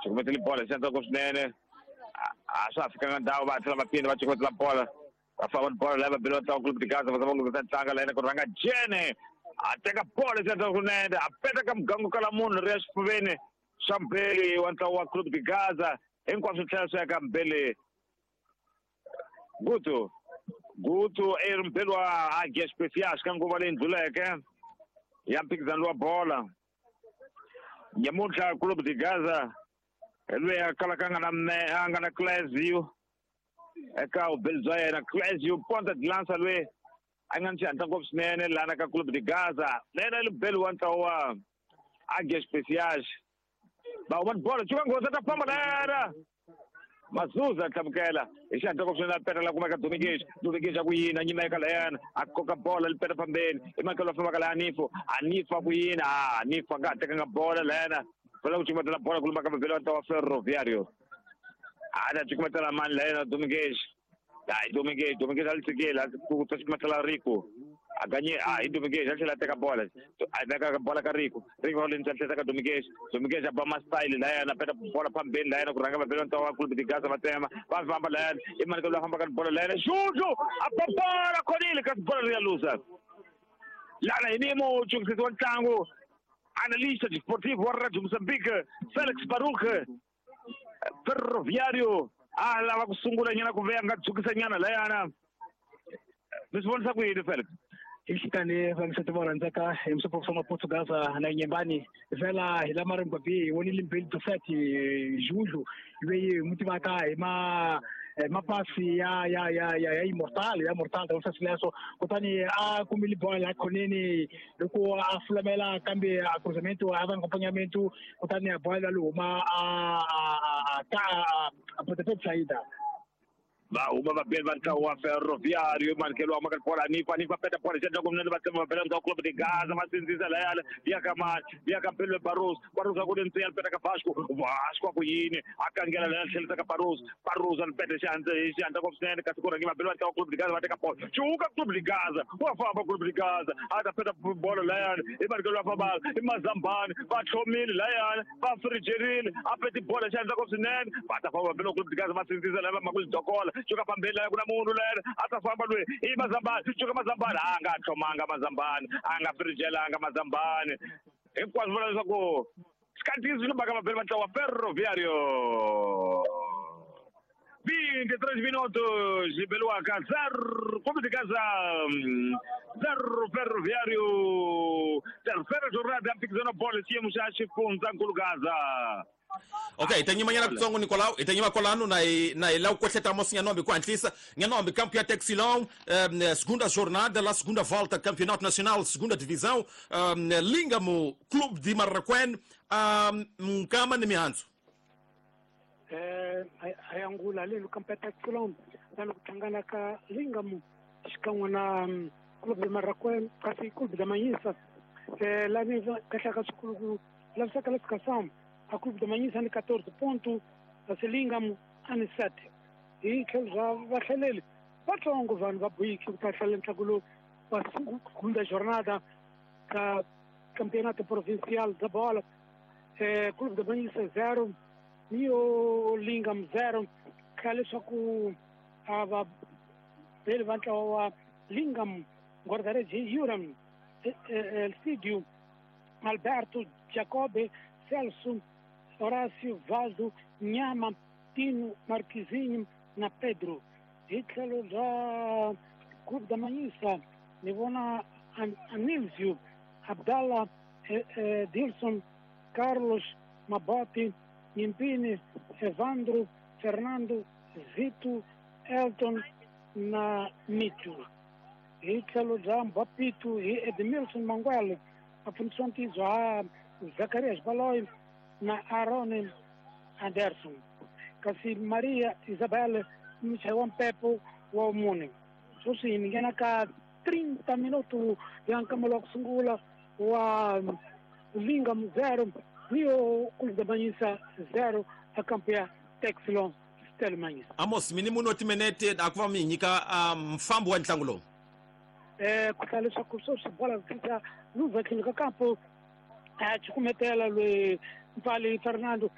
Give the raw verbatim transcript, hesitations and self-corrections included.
Cukumetele bola xi ku swinene. A swa ha fikanga ndhawu va tlhela va phinda va cukumetela bola. Va famba ni bola lava belo ntlangu Clube de Gaza va zama ku tlanga la yena ku rhanga Jene. A teka bola xi swinene a peta ka mugangu kala munhu ri ya xifuveni xa mbeli wa ntlawa wa Clube de Gaza hinkwaswo tlhela swi ya ka mbeli Gutu. Gutu i ri mbeli wa Águia Especiais ka nguva leyi ndluleke ya mphikizano wa bola. Nyamuntlha Clube de Gaza hi loyi a kalaka a nga na me a nga na Clésio eka vubeli bya yena. Clésio ponta de lança loyi a nga ni xihatla ngopfu swinene lana ka Clube de Gaza na yena i mubeli wa ntlawa wa Águia Especiais. Va huma ni bola cuka nghozi ta famba lera Mazuza tlhamukela hi xihatla ngopfu swinene a peta la kumeka Domingues. Domingues a ku yini a nyima eka layana a koka bola li peta fambeni i makelo a fambaka la Anifo. Anifo a ku yini a Anifo a nga ha tekanga bola layana va ku cukumetela bola ku lumaka mavele wa ntlawa wa Ferroviario. A ta cukumetela mani layana Domingues. Hayi Domingues, Domingues a li tshikile a ku ta cukumetela Rico. A ganye a hi Domingues a tlhela a teka bola. A veka bola ka Rico. Rico le ndzhaku tlhela ka Domingues. Domingues a ba ma style layana a peta bola phambeni layana ku rhanga vabeli wa ntlawa wa Clube de Gaza va tsema va famba layana i mani ka loyi a fambaka ni bola layana Juju a ba bola khonile kasi bola ri ya luza. Lana hi ni muchungisisi wa ntlangu analista desportivo wa Radio Mozambique Felix Baruch. Ferroviario a lava ku sungula nyana ku veya nga dzukisa nyana layana. Mi swi vonisa ku yini Felix? Hi vaxati va rhandzaka hi musopho swa Maputo Gaza na Nyembani vela hi lama ri ngwabi hi vonile mbili Dosati Juju loyi hi n'wi tivaka hi ma mapasi ya ya ya ya ya immortal ya mortal ta sweswo kutani a kumile bola ya khoneni loko a fulamela kambe a cruzamento a va acompanhamento kutani a bola luma a a a a potepe saída. Va huma vabeli va ntlawa wa Ferroviario manikelo wa maka bola Anifa. Anifa peta bola xi endla ku mnene va tsema va bela ntlawa Clube de Gaza va sindzisa layana ya ka mani ya ka Mpelo Barros. Barros a ku ri ntsiya peta ka Vasco. Vasco a ku yini a kangela layana tlhelisa ka Barros. Barros a peta xihandza hi xihandza ngopfu swinene kasi ku rhangi vabeli va ntlawa Clube de Gaza va teka bola cuka Clube de Gaza wa famba Clube de Gaza a ta peta bola layana i manikelo wa fambaka i Mazambani va tlhomile layana va frijerile a peti bola xihandza ngopfu swinene va ta famba vabeli va Clube de Gaza va sindzisa laya va maku lidokola cuka phambeni laya ku na munhu layana a ta famba loyi i Mazambani cuka Mazambani a nga tlhomanga Mazambani a nga frijelanga Mazambani hinkwaswo vula leswaku swi swi lumbaka vabeli va ntlawa Ferroviario. vinte e três minutos beliwaka zero Clube de Gaza zero Ferroviario. Terceira jornada ya mphikizano wa bolo xiyimo xa xifundzankulu Gaza. Ok, hi ta nyimanyana kutsongo Nicolau, hi ta nyima kwalano na hi na hi lava ku kohleta Amos Nhanombe ku hatlisa. Nhanombe, campo ya Texilão, um, segunda jornada, la segunda volta, Campeonato Nacional, segunda divisão, um, Lingamo, Clube de Marraquém, um, Nkama ni mihandzu. Eh, ayangula lelo campo ya Texilão, lano ku tlangana ka Lingamo xikan'we na Clube de Marraquém, kasi Clube da Manhissa. Eh, lani kahle ka swikulu ku lavisaka classificação. A Clube da Manhissa ni quatorze pontos, a Lingamo ani sete. Hi tlhelo bya vahlaleli vatsongo vanhu va boyiki ku ta hlalela ntlangu lowu wa segunda jornada ka Campeonato Provincial da Bola. Eh, Clube da Manhissa zero, Nio Lingam zero. Kha leswaku a va beli va ntlawa wa Lingam guarda-redes Yuram Elcidio Alberto Jacobe Celso Horácio Valdo Nhama Tino Marquizinho na Pedro. Hi tlhelo bya Clube da Manhissa ni vona Anilzio Abdallah Dilson Carlos Maboti Nyimpini Evandro Fernando Zito Elton na Micho. Hi tlhelo bya Mbapito hi Edmilson Manguele a pfunisiwa ntiyiso ha Zacarias Baloy na Aaron Anderson. Kasi Maria Isabel muchayi wa mpepo wa mune. Sweswi hi nghena ka trinta minuto ya nkamelo wa ku sungula wa Lingam zero Rio Clube da Manhissa zero a campo ya Texilon Stella Manhissa. Amos, mini munhu timinete a ku va mi nyika mfambo wa ntlangu lowu. Eh, ku hlaya leswaku sweswi bola tlhisa luza tlhelo ka kampo a cukumetela loyi Mpali Fernando.